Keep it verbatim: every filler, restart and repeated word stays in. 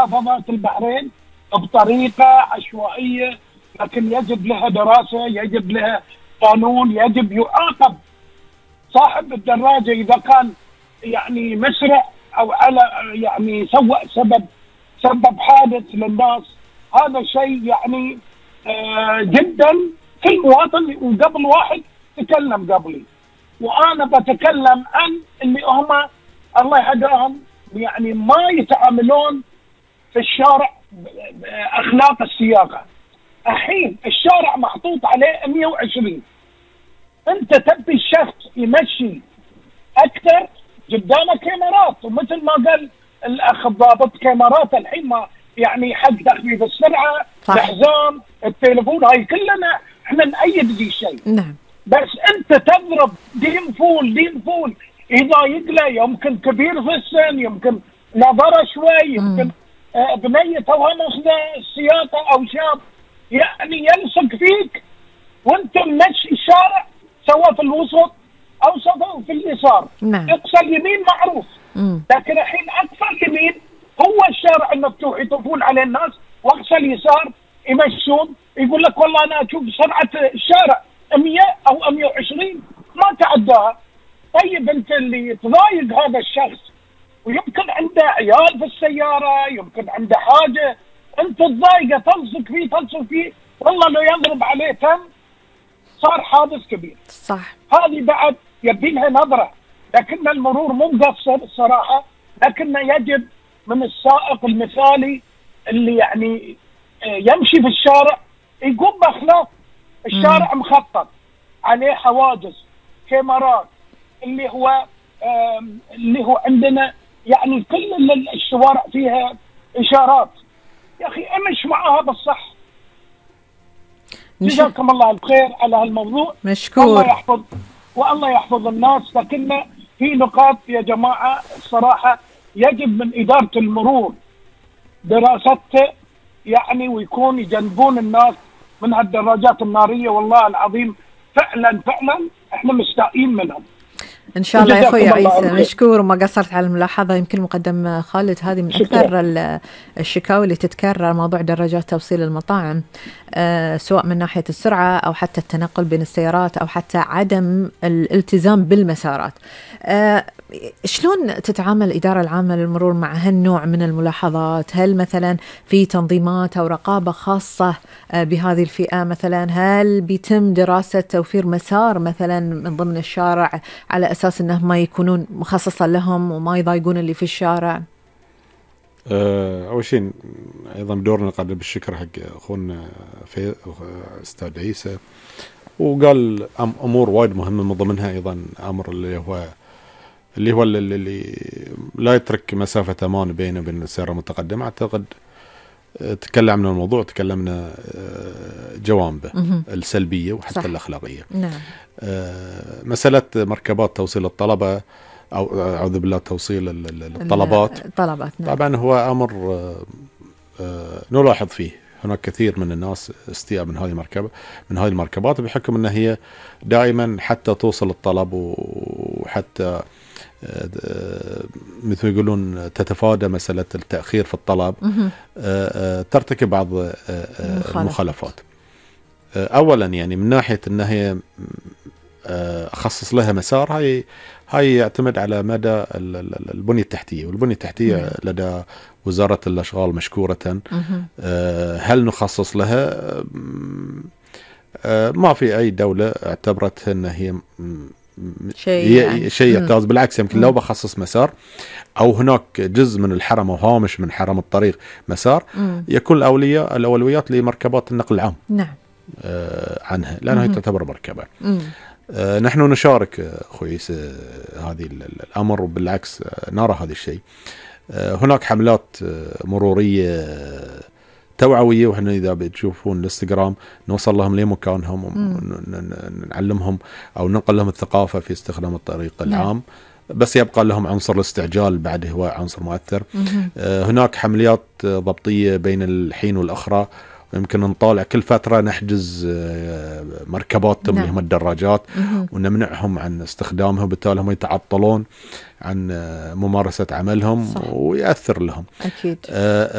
محافظات البحرين بطريقة عشوائية، لكن يجب لها دراسة، يجب لها قانون، يجب يعاقب صاحب الدراجة إذا كان يعني مسرع أو على يعني سوى سبب سبب حادث للناس. هذا شيء يعني آه جدا في المواطن. وقبل واحد تكلم قبلي، وأنا بتكلم عن اللي هم الله يهداهم يعني ما يتعاملون في الشارع أخلاق السياقة. الحين الشارع محطوط عليه مئة وعشرين، أنت تبي الشخص يمشي أكثر، قدامك كاميرات، ومثل ما قال الأخ الضابط كاميرات الحين ما يعني حق تخفيف السرعة، الحزام، التليفون، هاي كلنا احنا نأيد ذي الشيء. نعم. بس أنت تضرب دين فول دين فول إذا يقلى، يمكن كبير في السن، يمكن نظرة شوي، يمكن آه بنية توهم السياقة أو شاب يعني يلصق فيك وانت ماشي الشارع، سواء في الوسط او سواء في اليسار. نعم. اقصى اليمين معروف، مم. لكن الحين اقصى اليمين هو الشارع المفتوح يطوفون على الناس، واقصى اليسار يمشون، يقول لك والله انا اشوف سرعه الشارع مئة او مئة وعشرين ما تعداها. طيب انت اللي تضايق هذا الشخص ويمكن عنده عيال في السياره، يمكن عنده حاجه، انت تضايقه تلصق فيه تلصق فيه والله لو يضرب عليه تم صار حادث كبير. صح. هذه بعد يبي لها نظرة، لكن المرور مو مقصر الصراحة، لكن يجب من السائق المثالي اللي يعني يمشي في الشارع يقوم بأخلاق. الشارع مم. مخطط عليه حواجز، كاميرات، اللي هو اللي هو عندنا يعني كل الشوارع فيها إشارات. يا أخي امش معها بالصح. جزاكم الله الخير على هالموضوع. مشكور. الله يحفظ والله يحفظ الناس. لكن في نقاط يا جماعة الصراحة يجب من إدارة المرور دراسته يعني، ويكون يجنبون الناس من هالدراجات النارية. والله العظيم فعلا فعلا احنا مستائين منهم. إن شاء الله يا أخوي عيسى، مشكور وما قصرت على الملاحظة. يمكن مقدم خالد هذه من أكثر الشكاوي اللي تتكرر، موضوع دراجات توصيل المطاعم، أه سواء من ناحية السرعة أو حتى التنقل بين السيارات أو حتى عدم الالتزام بالمسارات. أه شلون تتعامل الإدارة العامة للمرور مع هالنوع من الملاحظات؟ هل مثلا في تنظيمات أو رقابة خاصة بهذه الفئة مثلا؟ هل بيتم دراسة توفير مسار مثلا من ضمن الشارع على أساس أنه ما يكونون مخصصة لهم وما يضايقون اللي في الشارع؟ أول شيء أيضا دورنا نقدم بالشكر حق أخونا في أستاذ عيسى، وقال أمور وايد مهمة من ضمنها أيضا أمر اللي هو اللي هو اللي, اللي لا يترك مسافة أمان بينه وبين السيارة المتقدمة. أعتقد تكلم عن الموضوع، تكلمنا جوانبه السلبية وحتى صح. الأخلاقية. نعم. مسألة مركبات توصيل الطلبة أو أعوذ بالله توصيل الطلبات الطلبات نعم. طبعا هو أمر نلاحظ فيه هناك كثير من الناس استياء من هذه المركبة من هذه المركبات بحكم أنها هي دائما حتى توصل الطلب وحتى مثل يقولون تتفادى مسألة التأخير في الطلب، ترتكب بعض المخالفات. أولا يعني من ناحية أنها هي أخصص لها مسار، هاي هاي يعتمد على مدى البنية التحتية، والبنية التحتية لدى وزارة الأشغال مشكورة. هل نخصص لها؟ ما في أي دولة اعتبرت أن هي شيء يعني. شيء يمتاز، بالعكس يمكن لو بخصص مسار أو هناك جزء من الحرم أو هامش من حرم الطريق مسار، مم. يكون الأولية الأولويات لمركبات النقل العام. نعم. آه عنها لأنها تعتبر مركبة. آه نحن نشارك أخوي هذه الأمر، وبالعكس نرى هذا الشيء. آه هناك حملات مرورية توعوية، وإحنا إذا بتشوفون الانستغرام نوصل لهم لمكانهم ونعلمهم أو ننقل لهم الثقافة في استخدام الطريق العام. بس يبقى لهم عنصر الاستعجال بعد، هو عنصر مؤثر. آه هناك حمليات ضبطية بين الحين والأخرى، ويمكن نطالع كل فترة نحجز مركباتهم اللي هم الدراجات ونمنعهم عن استخدامها، وبالتالي هم يتعطلون عن ممارسة عملهم. صح. ويأثر لهم أكيد. آه